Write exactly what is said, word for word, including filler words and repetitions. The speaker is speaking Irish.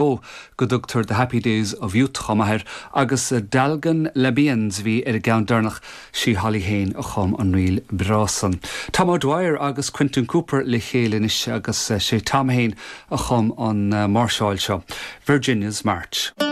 go dtugtar The Happy Days of Youth chomh maith air agus Dalgan Labians bhí ar an gceann deireanach sí Holly féin a chum an ríl breá san. Tom O'Dwyer agus Quentin Cooper le chéile anois agus sé Tom féin a chum an máirseáil seo. Virginia's March.